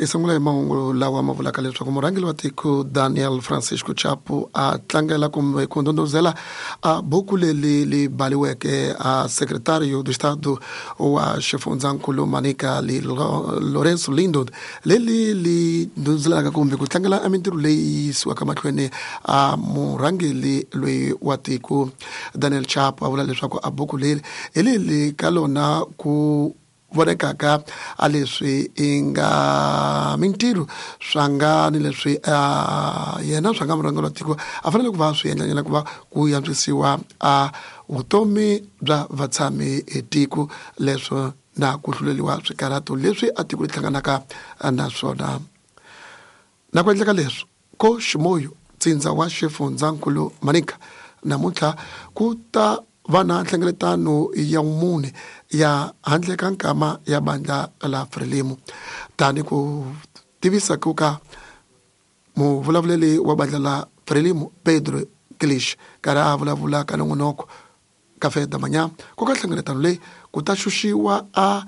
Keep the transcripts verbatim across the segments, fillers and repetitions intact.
I sungula hi mahungu lawa ma vulaka leswaku murhangeri wa tiko Daniel Francisco Chapo a tlangela kumbe ku ndondozela a buku leri li baliweke a secretario do Estado wa xifundzankulu Manica li Lorenzo Lindo leri li ndondzelaka kumbe ku tlangela a mintirho leyi yisiwaka mahlweni a murhangeri loyi wa tiko Daniel Chapo a vula leswaku a buku leri hi leri ka lona ku vonekaka a leswi i nga mintirho swa nga ni leswi yena swa nga murhangeri wa tiko a fanele ku va swi endlanyana ku va ku antswisiwa a vutomi bya vatshami etiko leswo na ku hluleliwa swikarhato leswi a tiko ri hlanganaka na swona. Na ku endleka leswi ko Ximoyo ntsindza wa xifundzankulu Manica namuntlha ku ta va na nhlengeletano ya mune ya handle ka nkama ya bandla la Frelimo tani ku tivisa ku ka muvulavuleli wa bandla la Frelimo Pedro Kilish karhi a vulavula ka nongonoko Café da Manhã ku ka nhlengeletano leyi ku ta xuxiwa a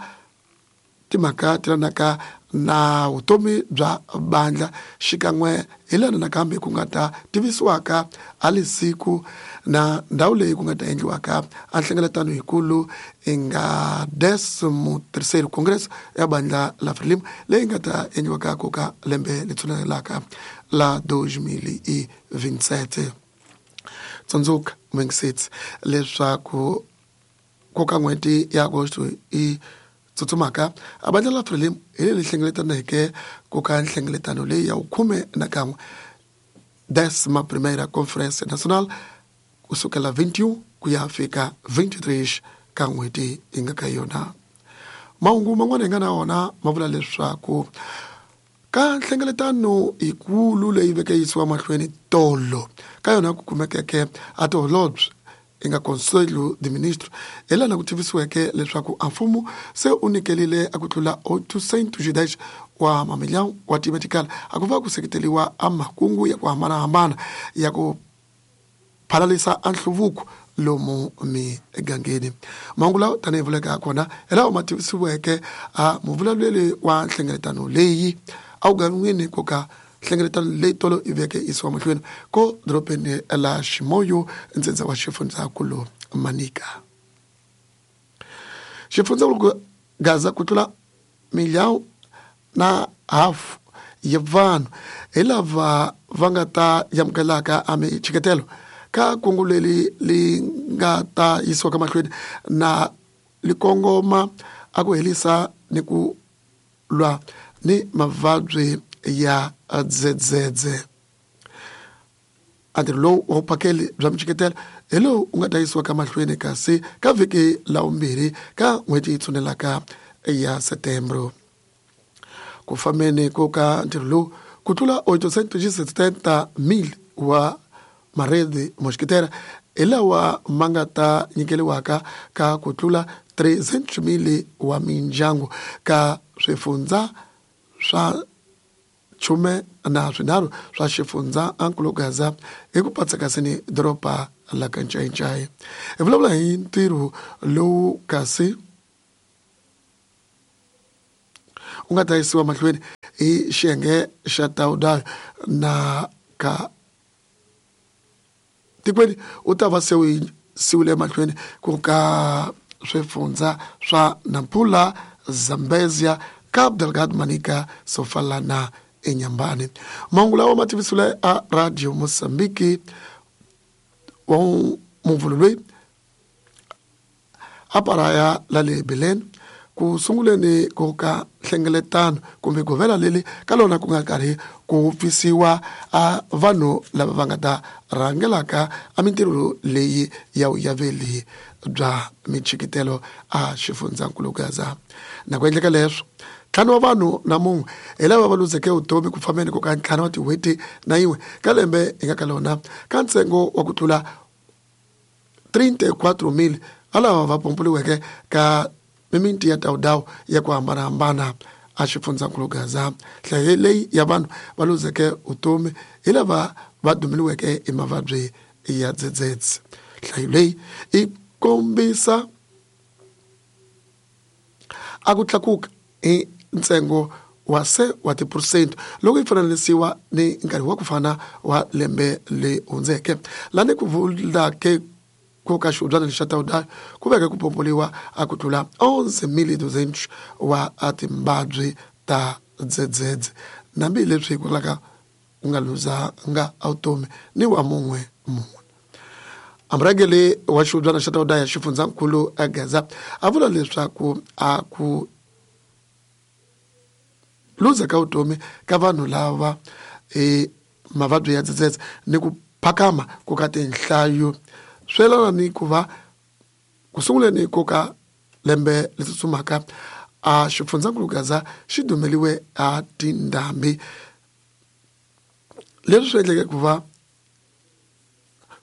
timhaka ti lanaka na vutomi bya bandla xikan'we hi lana nakambe ku nga ta tivisiwaka a lisiku na ndhawu leyi ku nga ta endliwaka a nhlengeletano yikulu i nga décimo terceiro Congresso ya bandla la Frelimo leyi nga ta endliwaka ku ka lembe leri tshunelaka la dois mil e vinte e sete. Tsundzuka Mwengisitsi leswaku ku ka n'hweti ya Agosto i tsutsumaka a bandla la Frelimo hi leri hlengeletaneke ku ka nhlengeletano leyi ya vukhume na kan'we décima primeira Conferência Nacional kusukela vinte e um ku ya fika vinte e três ka n'hweti yi nga ka yona. Mahungu man'wana hi nga na wona ma vula leswaku ka nhlengeletano yikulu leyi veke yisiwa mahlweni tolo ka yona ku kumekeke a tiholobye i nga Conselho de Ministro hi lana ku tivisiweke leswaku a mfumo se u nyikelile a ku tlula oitocentos e dez wa mamilhão wa timetikala a ku va ku seketeliwa a makungu ya ku hambanahambana ya ku phalalisa a nhluvuko lomu migangeni. Mahungu lawa tanihi vuleka kona hi lawa ma tivisiweke a muvulavuleli wa nhlengeletano leyi a wu gan'wini ku ka nhlengeletano leyi tolo i veke yisiwa mahlweni ko dorobeni la Ximoyo ntsindza wa xifundzankulu Manica. Xifundzankulu Gaza ku tlula milhão na hafu ya vanhu hi lava va nga ta amukelaka a michiketelo ka kungu leri li nga ta yisiwaka mahlweni na li kongoma a ku herisa ni ku lwa ni mavabyi ya dzedzedze. A ntirho lowu wa vuphakeli bya michiketelo hi lowu u nga ta yisiwaka mahlweni kasi ka vhiki la vumbirhi ka n'hweti yi tshunelaka ya Setembro. Ku fambeni ko ka ntirho lowu ku tlula oitocentos e setenta mil wa maredi moxiketela hi lawa ma nga ta nyikeliwaka ka ku tlula trezentos mil wa mindyangu ka swifundza swa chume na swinharhu swa xifundza ankulu Gaza hi ku patsekasini doroba la ka Ncayincai. Hi vulavula hi ntirho lowu kasi u nga ta yisiwa mahlweni hi xiyenge xa Taudayo na ka tikweni u ta va se u yisiwile emahlweni ku ka swifundza swa Nampula, Zambezia, Cabo Delgado, Manica, Sofala na Inhambane. Mahungu lawa ma tivisiwile a Radio Mozambique wa muvhulo loyi a paraya la le Belém ku sunguleni ku ka nhlengeletano kumbe govela leri ka lona ku nga karhi ku pfisiwa a vanhu lava va nga ta rhangelaka a mintirho leyi ya vuyaveli bya michikitelo a xifundzankulu Gaza. Na ku endleka leswo ntlhanu wa vanhu na mun'we hi lava va luzeke vutomi ku fambeni ku ka ntlhanu wa tin'hweti na yin'we ka lembe hi nga ka lona ka ntsengo wa ku tlula trinta e quatro mil a lava va pompoliweke ka mimiti ya Taudawu ya ku hambanahambana a xifundzankulu Gaza. Nhlayo leyi ya vanhu va luzeke vutomi hi lava va dumeliweke hi mavabyi ya dzedzedze. Nhlayo leyi yi kombisa a ku tlakuka hi ntsengo wa se wa tiphesente loko yi fananisiwa ni nkarhi wa ku fana wa lembe le hundzeke lani ku vulake ku ka xihubyana lexa Taudayo ku veke ku pompoliwa a ku tlula onze mil duzentos wa timbabyi ta dzedzedze nambi leswi hikwalaho ku nga luzanga vutomi ni wa mun'we munhu. Amurhangeri wa xihubyana xa Taudayo xifundzankulu Gaza a vula leswaku a ku luza ka vutomi ka vanhu lava e mavabyi ya dzedzedze ni ku phakama ku ka tinhlayo swi yelana ni ku va ku sunguleni ko ka lembe leri tsutsumaka a xifundzankulu Gaza xi dumeliwe a tindhambi leswi swi endleke ku va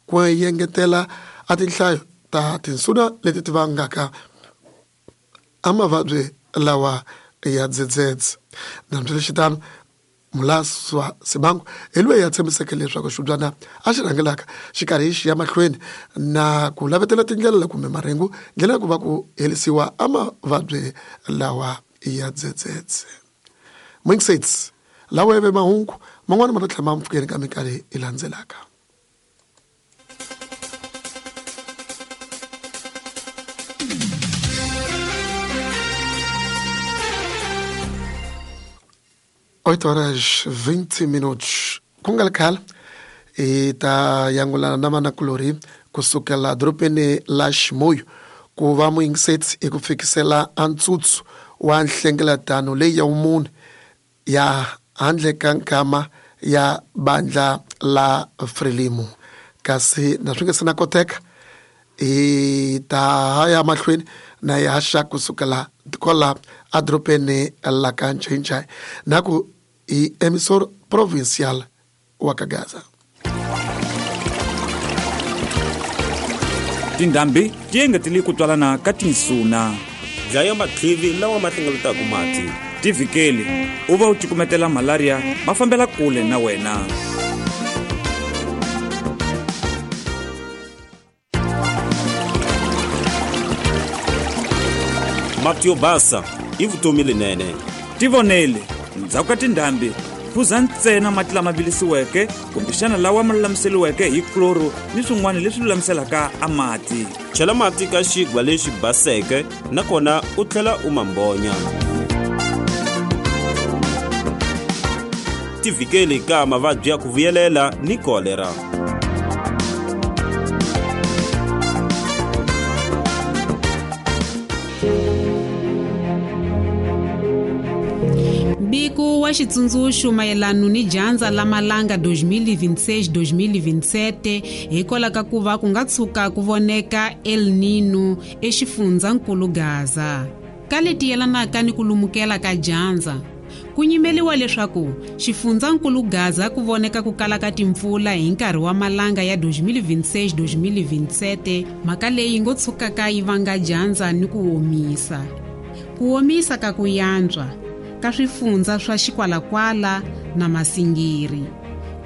ku engetela a tinhlayo ta tinsuna leti ti vangaka a mavabyi lawa ya dzedzedze. Nambiswiritano Mulaswa Simango hi loyi a tshembiseke leswaku xihubyana a xi rhangelaka xi karhi xi ya mahlweni na ku lavetela tindlela kumbe marhengu ndlela ya ku va ku herisiwa a mavabyi lawa ya dzedzedze. Mwingiseti lawa ya ve mahungu man'wana ma ta tlhela ma mpfukeni ka minkarhi yi landzelaka. oito horas vinte minutos. Ku nga ri khale hi ta yangulana na vanakulorhi kusukela dorobeni la Ximoyo ku va muyingiseti hi ku fikisela a ntsutsu wa nhlengeletano leyi ya vumunhu ya handle ka nkama ya bandla la Frelimo. Kasi na swi nga se na koteka hi ta ya mahlweni na hi haxa kusukela kwala edorobeni la ka Ncinca na ku hi emissor provincial wa ka Gaza. Tindhambi ti engetele ku twalana ka tinsuna. Dlaya matlivi lawa ma hlengeletaka mati. Tivhikeli u va u cukumetela malaria ma fambela kule na wena. Mati yo basa i vutomi lenene. Tivonele ndzhaku ka tindhambi phuza ntsena mati lama vilisiweke kumbexana lawa ma lulamiseriweke hi chloro ni swin'wana leswi lulamiselaka a mati. Chela mati ka xigwa lexi baseke nakona u tlhela u ma mbonya. Tivhikeli ka mavabyi ya ku vuyelela ni kolera. Mbiko wa xitsundzuxo mayelana ni dyandza la malanga dois mil e vinte e seis dois mil e vinte e sete hikwalaho ka ku va ku nga tshuka ku voneka El Nino exifundzankulu Gaza. Ka leti yelanaka ni ku lumukela ka dyandza ku nyimeliwa leswaku xifundzankulu Gaza ku voneka ku kala ka timpfula hi nkarhi wa malanga ya dois mil e vinte e seis dois mil e vinte e sete mhaka leyi ngo tshukaka yi vanga dyandza ni ku omisa. Ku omisa ka ku yantswa ka swifundza swa Xikwalakwala na Masingiri.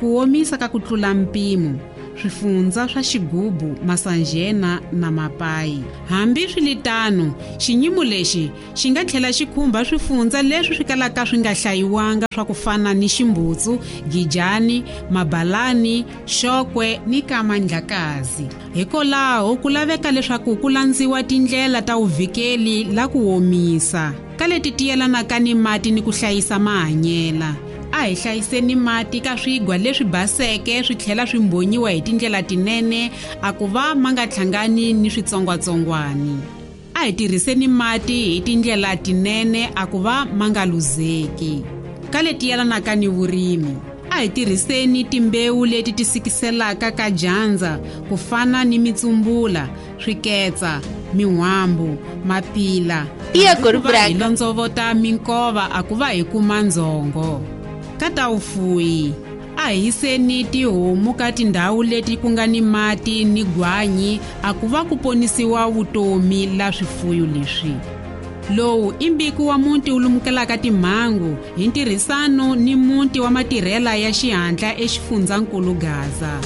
Ku omisa ka ku tlula mpimo swifundza swa Xigubu, Masanjena na Mapayi. Hambi swiritano, xinyimo lexi xi nga tlhela xi khumba swifundza leswi swi kalaka swi nga hlayiwanga swa ku fana ni Ximbutsu, Gijani, Mabalani, Xokwe ni Kamandlakazi. Hikwalaho ku laveka leswaku ku landziwa tindlela ta vuvikeli la ku omisa ka leti ti yelanaka ni mati ni ku hlayisa mahanyela. A hi hlayiseni mati ka swigwa leswi baseke swi tlhela swi mbonyiwa hi tindlela tinene a ku va ma nga hlangani ni switsongwatsongwani. A hi tirhiseni mati hi tindlela tinene a ku va ma nga luzeki. Ka leti yelanaka ni vurimi, a hi tirhiseni timbewu leti ti sikiselaka ka dyandza ku fana ni mitsumbula, swiketsa, min'wambu, mapila. Iya Gorubranca. Hi londzovota minkova a ku va hi kuma ndzhongo. Ka ta vufuwi, a hi yiseni tihomu ka tindhawu leti ku nga ni mati ni gwanyi a ku va ku ponisiwa vutomi la swifuyo leswi. Lowu i mbiko wa muti wu lumukelaka timhangu hi ntirhisano ni muti wa matirhela ya xihatla exifundzankulu Gaza.